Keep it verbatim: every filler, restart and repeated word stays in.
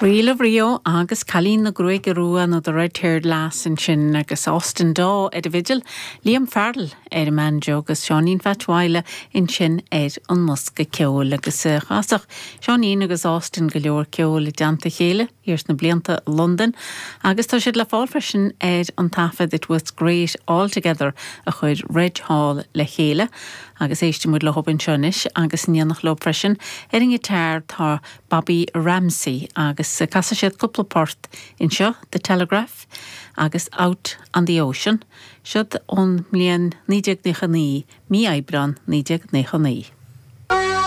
Reel of Rio agus Cailín na Gruaige Rua nó The Red-Haired Lass ansin agus Austin Daw ar an bhfidil, Liam Farrell ar an mbanjo agus Seáinín Pheait Mhaidhle ansin ar an mbosca ceoil agus chasadh Seáinín agus Austin go leor ceoil i dteannta a chéile thiar sna blianta Londain agus tá siad le fáil freisin ar an taifead It Was Great All Together a chuir Reg Hall le chéile agus éistfidh muid leo anseo anois agus in éineacht leo freisin ar an ngiotár tá Bobby Ramsey agus casfaidh siad cúpla port anseo The Telegraph agus Out on the Ocean, siod ón mbliain naoi déag nócha naoi, mí Aibreán naoi déag nócha naoi.